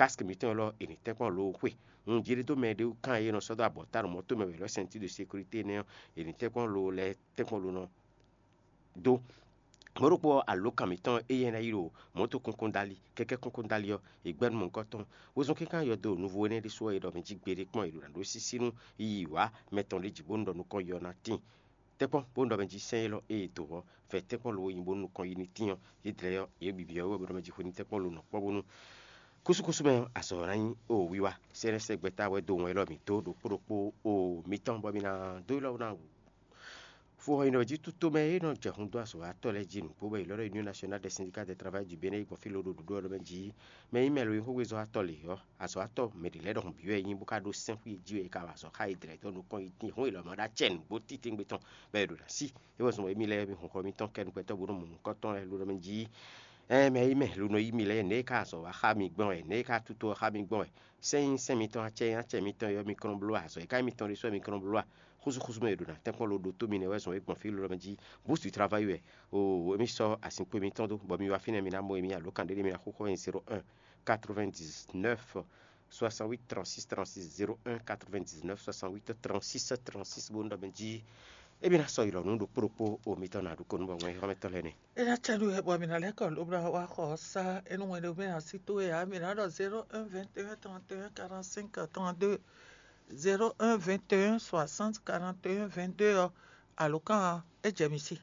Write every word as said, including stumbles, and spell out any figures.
Kask mǐtɔn élɔ́ è nǐ tɛ́nkpɔ́n lo xwe. Un jlí dó mɛ ɖé wú kan e nɔ sɔ́ dó abɔ̌ta ɖo mɔ̌ tomɛ wɛ lɔ̌ sɛnti de sékurité énɛ́ ɔ́, è nǐ tɛ́nkpɔ́n lo lɛ́ɛ tɛ́nkpɔ́n lo nɔ dó. Mɔ̌ ɖokpó ɔ́, alǒkan mǐtɔn e yɛ ná yi ɖo mɔ̌to kúnkún dali, kɛ́kɛ́ kúnkún dali ɔ́, è gbɛ́ nú mɔ̌hunkɔtɔn. Wezun kínkan yɔdo nǔvo énɛ́ ɖésú ɔ́, è ɖɔ mɛ jí gbeɖé kpɔ́n è ɖo nǎ ɖó sísí nú yiyi wǎ mɛ tɔn ɖé jí bónú ɖɔ nukɔn yɔ ná tíin. Tɛ́nkpɔ́n bónú ɖɔ mɛ jí sɛ́n élɔ́ e è dǒ ɔ́, vɛ̌ tɛ́nkpɔ́n lo e nyí bónú nukɔn yi ní tíin ɔ́, yě dlɛ́ ɔ́, yě bǐ byɔ́ wú wɛ bó ɖɔ mɛ jí xwe ní tɛ́nkpɔ́n lo nɔ kpɔ́ bónú kúsúkúsú mɛ ɔ́, azɔ̌ ná nyí o wiwa. Sɛ́nɛ́sɛ́ gbɛ́ta wɛ dó wɔn élɔ́ mǐ dó ɖokpó ɖokpó o mǐtɔn bɔ mǐ ná dó ylɔ́ ná wǔ. Fo ɔ́, nyí ɖɔ jí tútó mɛ e nɔ jɛ hun dó azɔ̌watɔ́ lɛ́ɛ jí nǔgbó bɔ è lɔ́ ɖɔ Union Nationale des Syndicats des Travailleurs du Bénin gbɔn fí lóɖo ɖuɖú ɔ́ ɖɔ mɛ jí mɛ nyí mɛ lo nyí xógbézɔ́watɔ́ lě ɔ́, azɔ̌watɔ́ mɛ ɖě lɛ́ɛ ɖɔhun bǐ wɛ nyí bó ka ɖó sɛ́n xwí e jí wɛ è ka wa azɔ̌ xá yě dlɛ̌ dó nukɔn yi tín hún è lɔ mɔ ɖó acɛ nǔgbó titewungbe tɔn bɔ è ɖo ná sí. É wɛ zɔn bɔ émí lɛ́ɛ mi hun xɔ mitɔn kɛ nukpɛtɔ́ bó nɔ mɔ nukɔntɔn lɛ́ɛ lóɖɔ mɛ jí. Ɛɛ mɛ yi mɛ lo nɔ yí mi lɛ́ɛ nɛ̌ é ka azɔ̌ wá xá mi gbɔn wɛ, nɛ̌ é ka tutɔ xá mi gbɔn wɛ. Sɛ́n nyí sɛ́n mitɔn, acɛ nyí acɛ mitɔn, yɔ mi kɔn bló azɔ̌ e ka nyí mitɔn ɖésú wɛ mi kɔn bló a? Xúzúxúzú mɛ e ɖo ná tɛ́nkpɔ́n lo ɖo tó mi nɛ́ wɛ zɔn e gbɔn fí lóɖɔ mɛ jí. Búsu travayi wɛ o émí sɔ́ asinkpo mitɔn dó bɔ mi wá fínɛ́ mi ná mɔ émí alǒkan ɖé ɖé mi ná xóxó wɛ nyí zéro un quatre-vingt-dix-neuf soixante-huit trente-six trente-six, zéro un quatre-vingt-dix-neuf soixante-huit trente-six trente-six bó nɔ mɛ jí. Émí ná sɔ́ yi lɔ nú ɖokpó ɖokpó o mitɔn ná ɖu ko nú bɔ wɛn xɔmɛtɔ́ lɛ́ɛ nɛ. É ná cɛ nú wɛ bɔ mi ná lɛ́ kɔ lóbla wá xɔ ɔ́ sá, é nú wɛn ɖé mɛ ná sí tó wɛ ǎ, mi ná ɖɔ zéro un vingt et un trente et un quarante-cinq trente-deux, zéro un vingt et un soixante quarante et un vingt-deux ɔ́, alǒkan ɔ́, é jɛ mi sí.